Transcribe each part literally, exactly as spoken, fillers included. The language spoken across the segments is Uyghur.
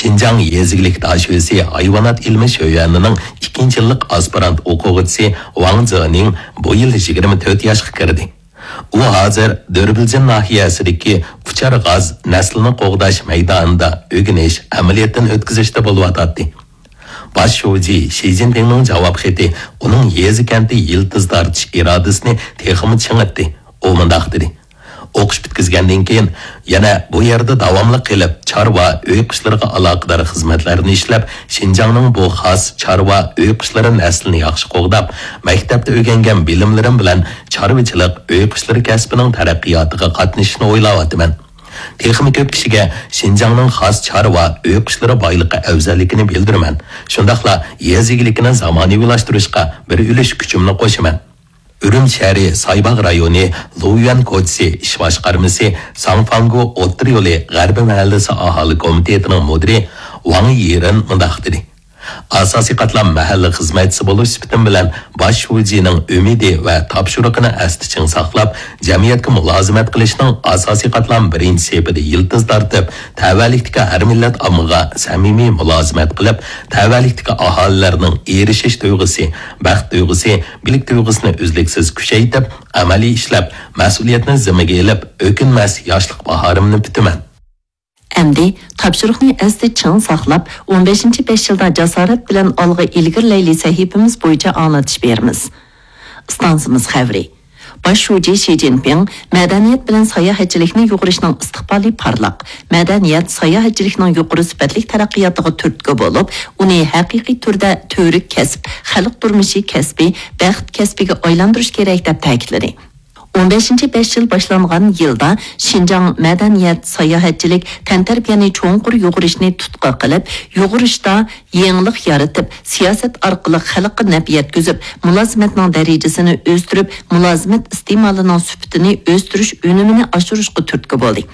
شىنجاڭ يېزا ئىگىلىك داشۆسى ھايۋانات ئىلمى شۆيۈەنىنىڭ ئىككىنچى يىللىق ئاسپىرانت ئوقۇغۇچىسى ۋاڭ زېنىڭ بۇ يىل يىگىرمە تۆت ياشقا كىردى. ئۇ ھازىر دۆربىلجىن ناھىيەسىدىكى ئۇچار غاز نەسلىنى قوغداش مەيدانىدا ئۆگىنىش، ئەمەلىيەتتىن ئۆتكۈزۈشتە بولۇۋاتاتتى. باش شۇجى شى جىنپىڭنىڭ جاۋاب خېتى ئۇنىڭ يېزا-كەنتتە يىلتىز تارتىش ئىرادىسىنى تېخىمۇ چىڭىتتى. ئۇ مۇنداق دېدى: ئوقۇش پۈتكۈزگەندىن كېيىن يەنە بۇ يەردە داۋاملىق قېلىپ، چارۋا، ئۆي قۇشلىرىغا ئالاقىدار خىزمەتلەرنى ئىشلەپ، شىنجاڭنىڭ بۇ خاس چارۋا، ئۆي قۇشلىرى نەسلىنى ياخشى قوغداپ، مەكتەپتە ئۆگەنگەن بىلىملىرىم بىلەن چارۋىچىلىق، ئۆي قۇشلىرى كەسپىنىڭ تەرەققىياتىغا قاتنىشىشنى ئويلاۋاتىمەن. تېخىمۇ كۆپ كىشىگە شىنجاڭنىڭ خاس چارۋا، ئۆي قۇشلىرى بايلىقى ئەۋزەللىكىنى بىلدۈرىمەن. شۇنداقلا يېزا ئىگىلىكىنى زامانىۋىلاشتۇرۇشقا بىر ئۈلۈش كۈچۈمنى قوشىمەن. ئۈرۈمچى شەھىرى سايباغ رايونى لۇيۈەن كوچىسى ئىش باشقارمىسى ساڭ فاڭگو ئوتتۇرا يولى غەربىي مەھەللىسى ئاھالە كومىتېتىنىڭ مۇدىرى ۋاڭ يىرېن مۇنداق دېدى: ئاساسىي قاتلام مەھەللە خىزمەتچىسى بولۇش سۈپىتىم بىلەن باش شۇجىنىڭ ئۈمىدى ۋە تاپشۇرۇقىنى ئەستە چىڭ ساقلاپ، جەمئىيەتكە مۇلازىمەت قىلىشنىڭ ئاساسىي قاتلام بىرىنچى سېپىدە يىلتىز تارتىپ، تەۋەلىكتىكى ھەر مىللەت ئاممىغا سەمىمىي مۇلازىمەت قىلىپ، تەۋەلىكتىكى ئاھالىلەرنىڭ ئېرىشىش تۇيغۇسى، بەخت تۇيغۇسى، بىلىك تۇيغۇسىنى ئۈزلۈكسىز كۈچەيتىپ، ئەمەلىي ئىشلەپ، مەسئۇلىيەتنى زىممىگە ئېلىپ، ئۆكۈنمەس ياشلىق باھارىمنى پۈتىمەن. ئەمدى تاپشۇرۇقنى ئەستە چىڭ ساقلاپ، ئون بەشىنچى بەش يىلدا جاسارەت بىلەن ئالغا ئىلگىرىلەيلى سەھىپىمىز بويىچە ئاڭلىتىش بېرىمىز. ئىستانسىمىز خەۋىرى. باش شۇجى شى جىنپىڭ مەدەنىيەت بىلەن ساياھەتچىلىكنى يۇغۇرۇشنىڭ ئىستىقبالى پارلاق، مەدەنىيەت ساياھەتچىلىكنىڭ يۇقىرى سۈپەتلىك تەرەققىياتىغا تۈرتكە بولۇپ، ئۇنى ھەقىقىي تۈردە تۈۋرۈك كەسىپ، خەلق تۇرمۇشى كەسپى، بەخت كەسپىگە ئايلاندۇرۇش كېرەك، دەپ تەكىتلىدى. ئون بەشىنچى بەش يىل باشلانغان يىلدا شىنجاڭ مەدەنىيەت، ساياھەتچىلىك، تەنتەربىيەنى چوڭقۇر يۇغۇرۇشنى تۇتقا قىلىپ، يۇغۇرۇشتا يېڭىلىق يارىتىپ، سىياسەت ئارقىلىق خەلققە نەپ يەتكۈزۈپ، مۇلازىمەتنىڭ دەرىجىسىنى ئۆستۈرۈپ، مۇلازىمەت ئىستېمالىنىڭ سۈپىتىنى ئۆستۈرۈش ئۈنۈمىنى ئاشۇرۇشقا تۈرتكە بولدى.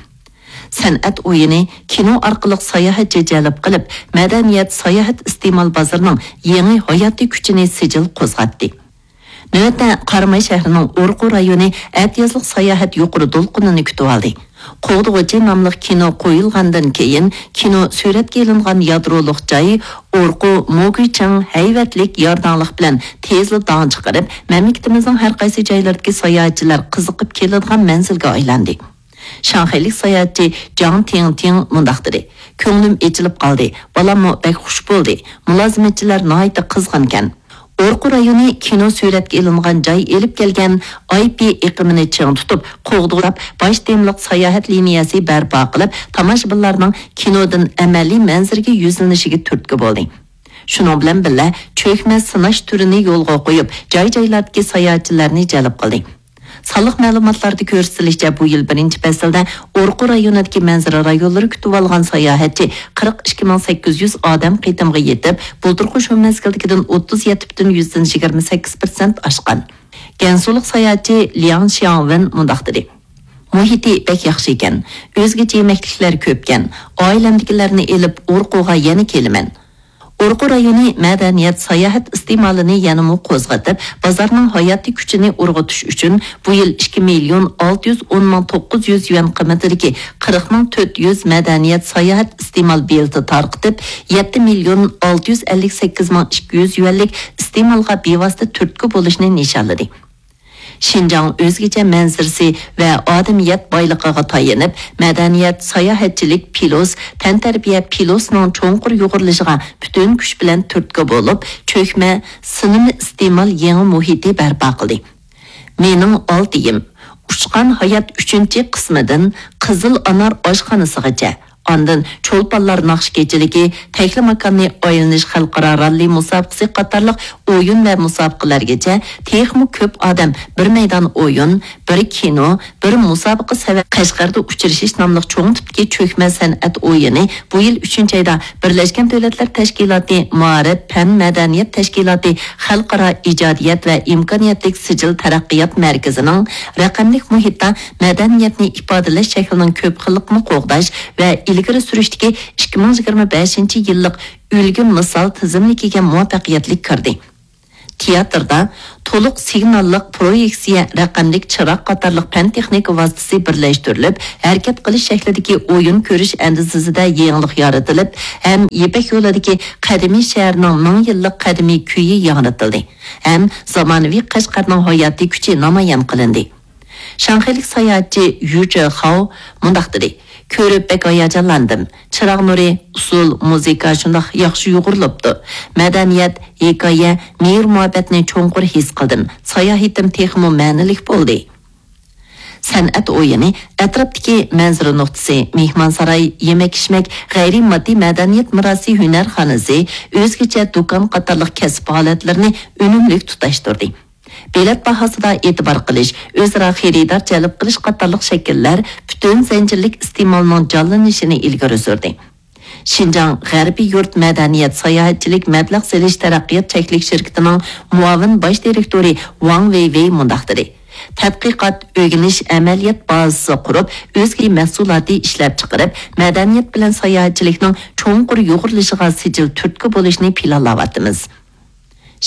سەنئەت ئويۇنى، كىنو ئارقىلىق ساياھەتچى جەلپ قىلىپ، مەدەنىيەت، ساياھەت ئىستېمال بازىرىنىڭ يېڭى ھاياتىي كۈچىنى سىجىل قوزغاتتى. نۆۋەتتە قاراماي شەھىرىنىڭ ئورقۇ رايونى ئەتىيازلىق ساياھەت يۇقىرى دولقۇنىنى كۈتۈۋالدى. قوغدىغۇچى ناملىق كىنو قويۇلغاندىن كېيىن، كىنو سۈرەتكە ئېلىنغان يادرولۇق جاي ئورقۇ موگۈچىڭ ھەيۋەتلىك يارداڭلىق بىلەن تېزلا داڭ چىقىرىپ، مەملىكىتىمىزنىڭ ھەر قايسى جايلىرىدىكى ساياھەتچىلەر قىزىقىپ كېلىدىغان مەنزىلگە ئايلاندى. شاڭخەيلىك ساياھەتچى جاڭ تىڭتىڭ مۇنداق دېدى: كۆڭلۈم ئېچىلىپ قالدى، بالاممۇ بەك خۇش بولدى، مۇلازىمەتچىلەر ناھايىتى قىزغىنكەن. ئورقۇ رايونى كىنو سۈرەتكە ئېلىنغان جاي ئېلىپ كەلگەن ئاي پى ئېقىمىنى چىڭ تۇتۇپ، قوغداپ، باش تېمىلىق ساياھەت لىنىيەسى بەرپا قىلىپ، تاماشىبىنلارنىڭ كىنودىن ئەمەلىي مەنزىرىگە يۈزلىنىشىگە تۈرتكە بولدى. شۇنىڭ بىلەن بىللە، چۆكمە سىناش تۈرىنى يولغا قويۇپ، جاي-جايلاردىكى ساياھەتچىلەرنى جەلپ قىلدى. سانلىق مەلۇماتلاردا كۆرسىتىلىشىچە، بۇ يىل بىرىنچى پەسىلدە ئورقۇ رايونىدىكى مەنزىرە رايونلىرى كۈتۈۋالغان ساياھەتچى قىرىق ئىككى مىڭ سەككىز يۈز ئادەم قېتىمغا يېتىپ، بۇلتۇرقى شۇ مەزگىلدىكىدىن ئوتتۇز يەتتە پۈتۈن يۈزدىن يىگىرمە سەككىز پىرسەنت ئاشقان. گەنسۇلۇق ساياھەتچى لياڭ شياڭۋېن مۇنداق دېدى: مۇھىتى بەك ياخشى ئىكەن، ئۆزگىچە يېمەكلىكلەر كۆپكەن، ئائىلەمدىكىلەرنى ئېلىپ ئورقۇغا يەنە كېلىمەن. ئورقۇ رايونى مەدەنىيەت، ساياھەت ئىستېمالىنى يەنىمۇ قوزغىتىپ، بازارنىڭ ھاياتىي كۈچىنى ئۇرغۇتۇش ئۈچۈن بۇ يىل ئىككى مىليون ئالتە يۈز ئون مىڭ توققۇز يۈز يۈەن قىممىتىدىكى قىرىق مىڭ تۆت يۈز مەدەنىيەت، ساياھەت ئىستېمال بېلىتى تارقىتىپ، يەتتە مىليون ئالتە يۈز ئەللىك سەككىز مىڭ ئىككى يۈز يۈەنلىك ئىستېمالغا بىۋاسىتە تۈرتكە بولۇشنى نىشانلىدى. شىنجاڭ ئۆزگىچە مەنزىرىسى ۋە ئادەمىيەت بايلىقىغا تايىنىپ، مەدەنىيەت، ساياھەتچىلىك پىلوس، تەنتەربىيە پىلوسنىڭ چوڭقۇر يۇغۇرۇلۇشىغا پۈتۈن كۈچ بىلەن تۈرتكە بولۇپ، چۆكمە سىنىما ئىستېمال يېڭى مۇھىتى بەرپا قىلدى. مېنىڭ ئالتىيىم، ئۇچقان ھايات ئۈچىنچى قىسمىدىن قىزىل ئانار ئاشخانىسىغىچە، ئاندىن چولپانلار ناخشا كېچىلىكى، تەكلىماكاننى ئايلىنىش خەلقئارا راللى مۇسابىقىسى قاتارلىق ئويۇن ۋە مۇسابىقىلەرگىچە تېخىمۇ كۆپ ئادەم بىر مەيدان ئويۇن، بىر كىنو، بىر مۇسابىقە سەۋەب قەشقەردە ئۇچرىشىش ناملىق چوڭ تىپتىكى چۆكمە سەنئەت ئويۇنى بۇ يىل ئۈچىنچى ئايدا بىرلەشكەن دۆلەتلەر تەشكىلاتى مائارىپ، پەن، مەدەنىيەت تەشكىلاتى خەلقئارا ئىجادىيەت ۋە ئىمكانىيەتلىك سىجىل تەرەققىيات مەركىزىنىڭ رەقەملىك مۇھىتتا مەدەنىيەتنى ئىپادىلەش شەكلىنىڭ كۆپ خىللىقىنى قوغداش ۋە ئىلگىرى سۈرۈشتىكى ئىككى مىڭ يىگىرمە بەشىنچى يىللىق ئۈلگە مىسال تىزىملىكىگە مۇۋەپپەقىيەتلىك كىردى. تىياتىردا تولۇق سىگناللىق پرويېكسىيە، رەقەملىك چىراغ قاتارلىق پەن-تېخنىكا ۋاسىتىسى بىرلەشتۈرۈلۈپ، ھەرىكەت قىلىش شەكلىدىكى ئويۇن كۆرۈش ئەندىزىسىدە يېڭىلىق يارىتىلىپ، ھەم يىپەك يولىدىكى قەدىمىي شەھەرنىڭ مىڭ يىللىق قەدىمىي كۈيى ياڭرىتىلدى، ھەم زامانىۋى قەشقەرنىڭ ھاياتىي كۈچى نامايان قىلىندى. شاڭخەيلىك ساياھەتچى يۈ چېخاۋ مۇنداق دېدى: «كۆرۈپ بەك ھاياجانلاندىم. چىراغ نۇرى، ئۇسسۇل، مۇزىكا شۇنداق ياخشى يۇغۇرۇلۇپتۇ. مەدەنىيەت، ھېكايە، مېھىر-مۇھەببەتنى چوڭقۇر ھېس قىلدىم. ساياھىتىم تېخىمۇ مەنىلىك بولدى.» سەنئەت ئويۇنى، ئەتراپتىكى مەنزىرە نۇقتىسى، مېھمانساراي، يېمەك-ئىچمەك، غەيرىي ماددىي مەدەنىيەت مىراسى ھۈنەرخانىسى، ئۆزگىچە دۇكان قاتارلىق كەسىپ ھالەتلىرىنى ئۈنۈملۈك تۇتاشتۇردى. بېلەت باھاسىدا ئېتىبار قىلىش، ئۆزئارا خېرىدار جەلپ قىلىش قاتارلىق شەكىللەر پۈتۈن زەنجىرلىك ئىستېمالنىڭ جانلىنىشىنى ئىلگىرى سۈردى. شىنجاڭ غەربىي يۇرت مەدەنىيەت ساياھەتچىلىك مەبلەغ سېلىش تەرەققىيات چەكلىك شىركىتىنىڭ مۇئاۋىن باش دىرېكتورى ۋاڭ ۋېيۋېي مۇنداق دېدى: «تەتقىقات، ئۆگىنىش، ئەمەلىيەت بازىسى قۇرۇپ، ئۆزگە مەھسۇلاتى ئىشلەپچىقىرىپ، مەدەنىيەت بىلەن ساياھەتچىلىكنىڭ چوڭقۇر يۇغۇرۇلۇشىغا سىجىل تۈرتكە بولۇشنى پىلانلاۋاتىمىز.»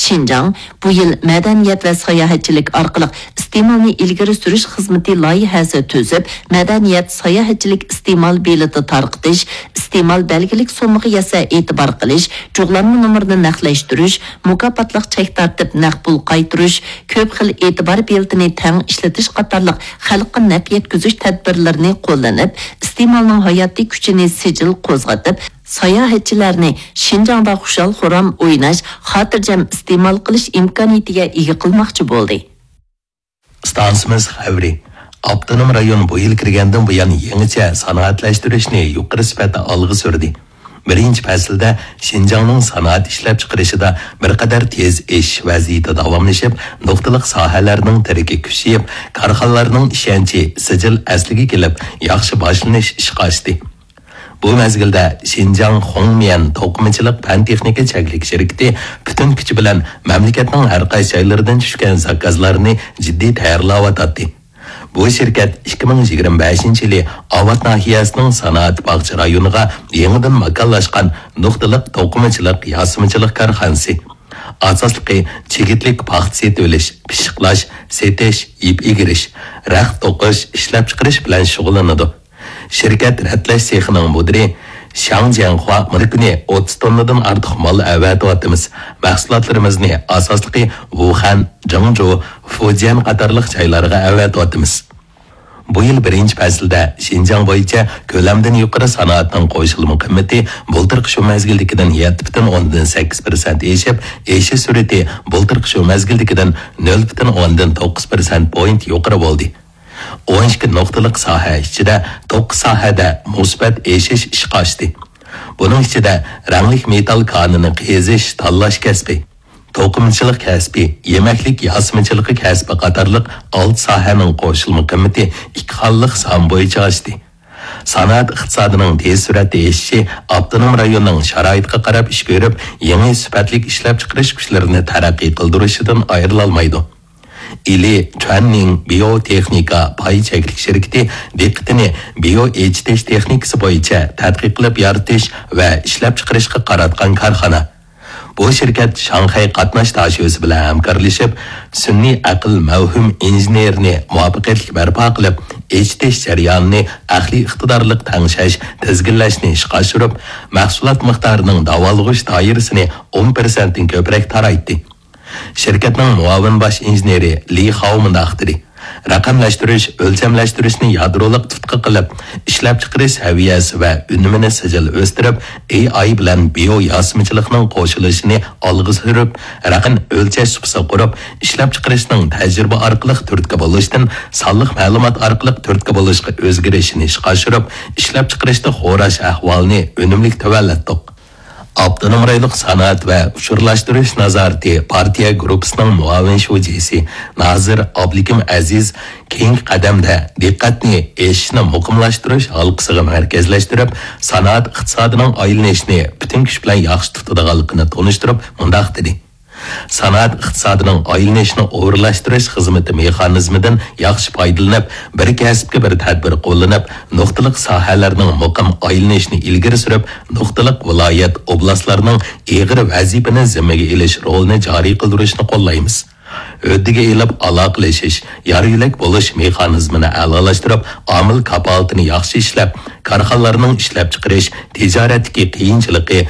شىنجاڭ بۇ يىل مەدەنىيەت ۋە ساياھەتچىلىك ئارقىلىق ئىستېمالنى ئىلگىرى سۈرۈش خىزمىتى لايىھەسى تۈزۈپ، مەدەنىيەت، ساياھەتچىلىك ئىستېمال بېلىتى تارقىتىش، ئىستېمال بەلگىلىك سوممىغا يەتسە ئېتىبار قىلىش، جۇغلانما نومۇرىنى نەقلەشتۈرۈش، مۇكاپاتلىق چەك تارتىپ نەق پۇل قايتۇرۇش، كۆپ خىل ئېتىبار بېلىتىنى تەڭ ئىشلىتىش قاتارلىق خەلققە نەپ يەتكۈزۈش تەدبىرلىرىنى قوللىنىپ، ئىستېمالنىڭ ھاياتىي كۈچىنى سىجىل قوزغىتىپ، ساياھەتچىلەرنى شىنجاڭدا خۇشال-خۇرام ئويناش، خاتىرجەم ئىستېمال قىلىش ئىمكانىيىتىگە ئىگە قىلماقچى بولدى. ئىستانسىمىز خەۋىرى. ئاپتونوم رايون بۇ يىل كىرگەندىن بۇيان يېڭىچە سانائەتلەشتۈرۈشنى يۇقىرى سۈپەتتە ئالغا سۈردى. بىرىنچى پەسىلدە شىنجاڭنىڭ سانائەت ئىشلەپچىقىرىشىدا بىر قەدەر تېز ئېشىش ۋەزىيىتى داۋاملىشىپ، نۇقتىلىق ساھەلەرنىڭ تىرىكى كۈچىيىپ، كارخانىلارنىڭ ئىشەنچى سىجىل ئەسلىگە كېلىپ، ياخشى باشلىنىش ئىشقا ئاشتى. بۇ مەزگىلدە شىنجاڭ خۇڭميەن توقۇمىچىلىق پەن-تېخنىكا چەكلىك شىركىتى پۈتۈن كۈچى بىلەن مەملىكەتنىڭ ھەر قايسى جايلىرىدىن چۈشكەن زاكازلارنى جىددىي تەييارلاۋاتاتتى. بۇ شىركەت ئىككى مىڭ يىگىرمە بەشىنچى يىلى ئاۋات ناھىيەسىنىڭ سانائەت باغچە رايونىغا يېڭىدىن ماكانلاشقان نۇقتىلىق توقۇمىچىلىق، ياسىمىچىلىق كارخانىسى. ئاساسلىقى چىگىتلىك پاختا سېتىۋېلىش، پىششىقلاش، سېتىش، يىپ ئېگىرىش، رەخت توقۇش، ئىشلەپچىقىرىش بىلەن شۇغۇللىنىدۇ. شىركەت رەتلەش سېخىنىڭ مۇدىرى شياڭ جيەنخۇا مۇنداق دېدى: «بىر كۈنى ئوتتۇز توننىدىن ئارتۇق مال ئەۋەتىۋاتىمىز. مەھسۇلاتلىرىمىزنى ئاساسلىقى ۋۇخەن، جېڭجۇ، فۇجيەن قاتارلىق جايلارغا ئەۋەتىۋاتىمىز.» بۇ يىل بىرىنچى پەسىلدە شىنجاڭ بويىچە كۆلەمدىن يۇقىرى سانائەتنىڭ قوشۇلما قىممىتى بۇلتۇرقى شۇ مەزگىلدىكىدىن يەتتە پۈتۈن ئوندىن سەككىز پىرسەنت ئېشىپ، ئېشىش سۈرئىتى بۇلتۇرقى شۇ مەزگىلدىكىدىن نۆل پۈتۈن ئوندىن توققۇز پىرسەنت پوينت يۇقىرى بولدى. ئون ئىككى نۇقتىلىق ساھە ئىچىدە توققۇز ساھەدە مۇسبەت ئېشىش ئىشقا ئاشتى. بۇنىڭ ئىچىدە رەڭلىك مېتال كانىنى قېزىش، تاللاش كەسپى، توقۇمىچىلىق كەسپى، يېمەكلىك ياسىمىچىلىقى كەسپى قاتارلىق ئالتە ساھەنىڭ قوشۇلما قىممىتى ئىككى خانىلىق سان بويىچە ئاشتى. سانائەت ئىقتىسادىنىڭ تېز سۈرئەتتە ئېشىشى ئاپتونوم رايوننىڭ شارائىتقا قاراپ ئىش كۆرۈپ، يېڭى سۈپەتلىك ئىشلەپچىقىرىش كۈچلىرىنى تەرەققىي قىلدۇرۇشىدىن ئايرىلالمايدۇ. ئىلى چۈەننىڭ بىيو تېخنىكا پاي چەكلىك شىركىتى دىققىتىنى بىيو ئېچىتىش تېخنىكىسى بويىچە تەتقىق قىلىپ يارىتىش ۋە ئىشلەپچىقىرىشقا قاراتقان كارخانا. بۇ شىركەت شاڭخەي قاتناش داشۆسى بىلەن ھەمكارلىشىپ، سۈنئىي ئەقىل مەۋھۇم ئىنژېنېرىنى مۇۋەپپەقىيەتلىك بەرپا قىلىپ، ئېچىتىش جەريانىنى ئەقلىي ئىقتىدارلىق تەڭشەش، تىزگىنلەشنى ئىشقا ئاشۇرۇپ، مەھسۇلات مىقدارىنىڭ داۋالغۇش دائىرىسىنى ئون پىرسەنتتىن كۆپرەك تارايتتى. شىركەتنىڭ مۇئاۋىن باش ئىنژېنېرى لى خاۋ مۇنداق دېدى: «رەقەملەشتۈرۈش، ئۆلچەملەشتۈرۈشنى يادرولۇق تۇتقا قىلىپ، ئىشلەپچىقىرىش سەۋىيەسى ۋە ئۈنۈمىنى سىجىل ئۆستۈرۈپ، ئېي ئاي بىلەن بىيو ياسىمىچىلىقنىڭ قوشۇلۇشىنى ئالغا سۈرۈپ، رەقەم ئۆلچەش سۇپىسى قۇرۇپ، ئىشلەپچىقىرىشنىڭ تەجرىبە ئارقىلىق تۈرتكە بولۇشتىن سانلىق مەلۇمات ئارقىلىق تۈرتكە بولۇشقا ئۆزگىرىشىنى ئىشقا ئاشۇرۇپ، ئىشلەپچىقىرىشتا خوراش ئەھۋالىنى ئۈنۈملۈك تۆۋەنلەتتۇق.» ئاپتونوم رايونلۇق سانائەت ۋە ئۇچۇرلاشتۇرۇش نازارىتى پارتىيە گۇرۇپپىسىنىڭ مۇئاۋىن شۇجىسى نازىر ئابلىكىم ئەزىز كېيىنكى قەدەمدە دىققەتنى ئېشىشنى مۇقىملاشتۇرۇش ھالقىسىغا مەركەزلەشتۈرۈپ، سانائەت ئىقتىسادىنىڭ ئايلىنىشىنى پۈتۈن كۈچ بىلەن ياخشى تۇتىدىغانلىقىنى تونۇشتۇرۇپ، مۇنداق دېدى: سانائەت ئىقتىسادىنىڭ ئايلىنىشنى ئورۇنلاشتۇرۇش خىزمىتى مېخانىزمىدىن ياخشى پايدىلىنىپ، بىر كەسىپكە بىر تەدبىر قوللىنىپ، نۇقتىلىق ساھەلەرنىڭ مۇقىم ئايلىنىشىنى ئىلگىرى سۈرۈپ، نۇقتىلىق ۋىلايەت، ئوبلاستلارنىڭ ئېغىر ۋەزىپىنى زىممىگە ئېلىش رولىنى جارى قىلدۇرۇشنى قوللايمىز. ھۆددىگە ئېلىپ ئالاقىلىشىش، يار-يۆلەك بولۇش مېخانىزمىنى ئەلالاشتۇرۇپ، ئامىل كاپالىتىنى ياخشى ئىشلەپ، كارخانىلارنىڭ ئىشلەپچىقىرىش، تىجارەتتىكى قىيىنچىلىقى،